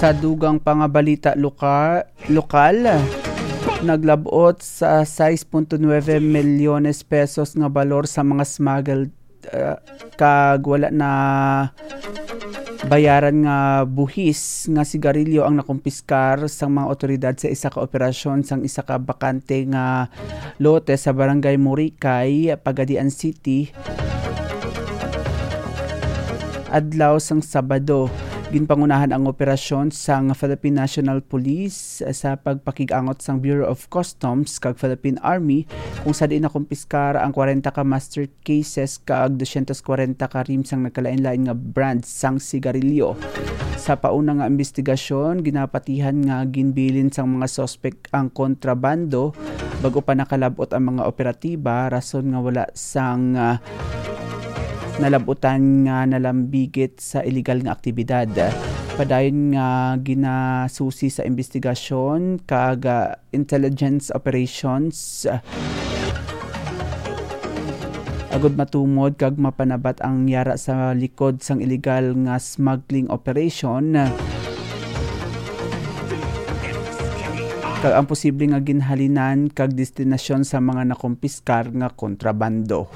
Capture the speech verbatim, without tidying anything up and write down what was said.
Sa dugang pa nga balita loka-, lokal, naglab-ot sa sais punto nuebe milyones pesos nga balor sa mga smuggled, uh, kag wala na bayaran nga buhis nga sigarilyo ang nakumpiskar sang mga otoridad sa isa ka operasyon sang isa ka bakante nga lote sa Barangay Murikay, Pagadian City, adlaw sang Sabado. Ginpangunahan ang operasyon sang Philippine National Police sa pagpakig-angot sang Bureau of Customs kag Philippine Army, kung sa diin nakumpiskar ang kwarenta ka master cases kag dosyentos kwarenta ka rim sang nagkalain-lain nga brand sang sigarilyo. Sa pauna nga imbestigasyon, ginapatihan nga ginbilin sang mga suspek ang kontrabando bag-o pa nakalab-ot ang mga operatiba, rason nga wala sang, ah, nalab-utan nga nalambigit sa iligal nga aktibidad. Padayon nga ginasusi sa imbestigasyon kag, ah, intelligence operations, ah, agud matumod kag mapanabat ang yara sa likod sang iligal nga smuggling operation, kag ang posible nga ginhalinan kag destinasyon sa mga nakumpiskar nga kontrabando.